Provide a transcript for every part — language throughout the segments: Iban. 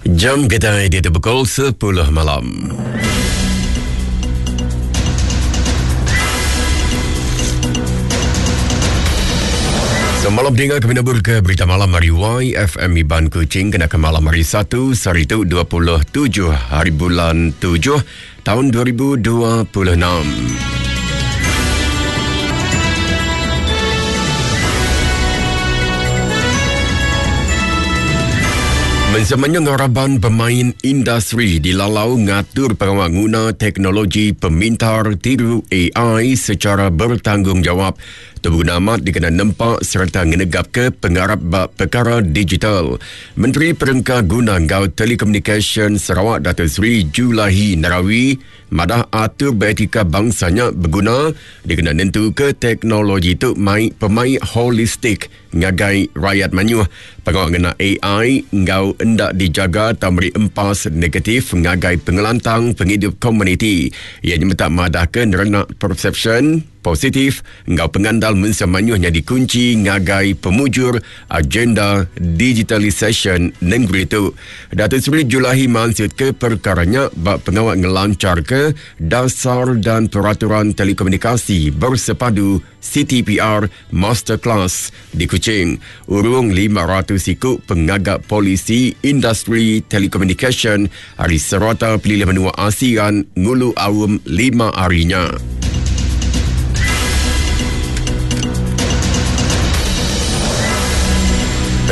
Jam kita di pukul 10 malam. Semalam dengar kami nabur ke berita malam hari YFM Iban Kuching kena ke malam hari 1 sehari tu 27 hari bulan 7 tahun 2026. Mensemanya ngaraban pemain industri dilalau ngatur pengawa nguna teknologi pemintar tiru AI secara bertanggungjawab. Tu beguna amat dikena nempa sereta ngenegapka pengarap ba pekara digital. Menteri Perengka Guna enggau Telekomunikasyen Sarawak Dato Sri Julaihi Narawi madah atur beretika bangsa nya beguna dikena nentuka teknologi tu mai pemaik holistik ngagai rayat mayuh. Pengawa ngena AI enggau enda dijaga tau meri empas negatif ngagai pengelantang pengidup komuniti. Iya nyemetak madahka nerenak persepsyen positif enggau pengandal mensia mayuh nyadi kunchi ngagai pemujur agenda digitalisasyen nengeri tu. Datuk Seri Julaihi mansutka perkara nya ba pengawa ngelancharka Dasar dan Peraturan Telekomunikasi Bersepadu, CTPR, Masterclass di Kuching. Urung 500 iku pengaga polisi industri telekomunikasyen ari serata pelilih menua ASEAN ngulu aum lima hari nya.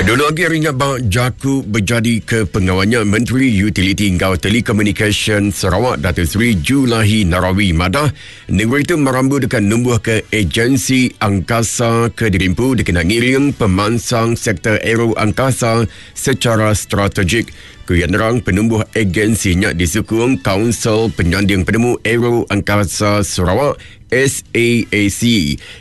Dulu agi hari nya ba jaku bejadi ke pengawa nya Menteri Utiliti enggau Telekomunikasyen Sarawak Datuk Seri Julaihi Narawi madah Nengeri tu merambu deka numbuhka ejensi angkasa ke dirimpu dikena ngiring pemansang sektor aero angkasa sechara strategik. Ku iya nerang, penumbuh egensi nya disukung Kaunsil Penyanding Penemu Aero Angkasa Sarawak, SAAC.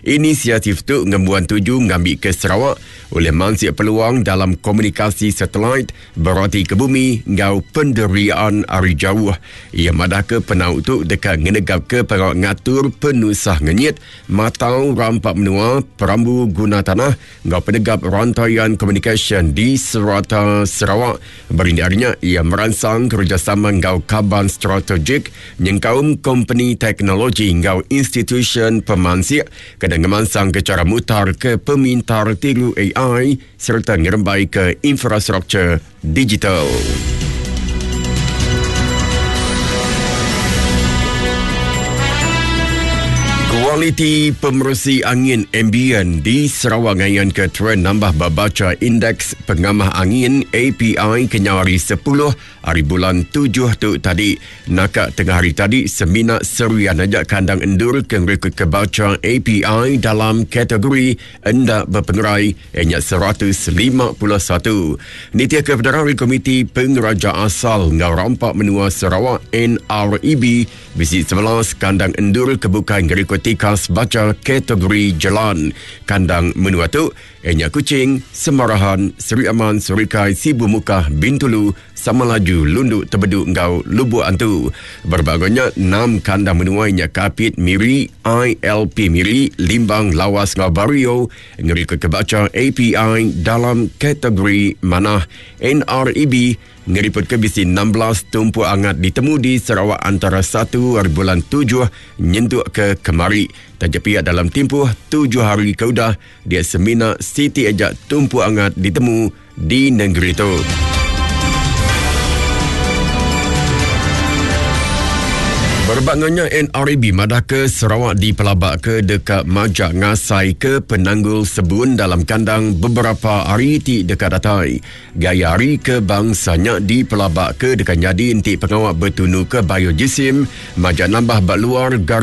Inisiatif tu ngembuan tuju ngambika Sarawak ulih mansik peluang dalam komunikasi satelit Berati ke bumi enggau penderiaan ari jauh, iya madahka penau tu deka ngenegapka pengawa ngatur penusah ngenyit, matau rampa menua, perambu guna tanah enggau penegap rantaian komunikasyen di serata Sarawak. Berindik ari nya, iya meransang kerejasama enggau kaban strategik nyengkaum kompeni teknologi enggau institusyen pemansik kena ngemansangka chara mutarka pemintar tiru ai sereta ngerembaika infrastruktur digital. Kualiti pemeresi angin ambient di Sarawak ngayanka trend nambah ba bacha Indeks Pengamah Angin API kenyau hari 10 Ari bulan tujuh tu tadi, naka tengah hari tadi semina Serian aja kandang endur ke ngerikutka bacha API dalam kategori enda bepengerai iya nya 151. Nitihka penerang ari Komiti Pengeraja Asal enggau Rampa Menua Sarawak, NREB, bisi 11 kandang endur ke bukai ngerikut tikas bacha kategori jelan kandang menua tu. Iya nya Kuching, Semarahan, Seri Aman, Serikai, Sibu Mukah, Bintulu, Samalaju, Lundu, Tebedu enggau Lubuk Antu. Berebak enggau nya, enam kandang menua nya Kapit, Miri, ILP Miri, Limbang, Lawas enggau Bario ngerikutka bacha API dalam kategori manah. NREB ngeripotka bisi 16 tumpuk angat ditemu di Sarawak antara satu ari bulan tujuh nyentuk ke kemari. Taja pia dalam timpuh tujuh hari ke udah, Dia semina siti aja tumpu angat ditemu di nengeri tu. Berebak enggau nya, NREB madahka Sarawak dipelabaka deka majak ngasaika penanggul sebun dalam kandang beberapa hari ti deka datai. Gaya hari ke bangsa nya dipelabaka deka nyadi enti pengawa betunuka biojisim majak nambah ba luar garis.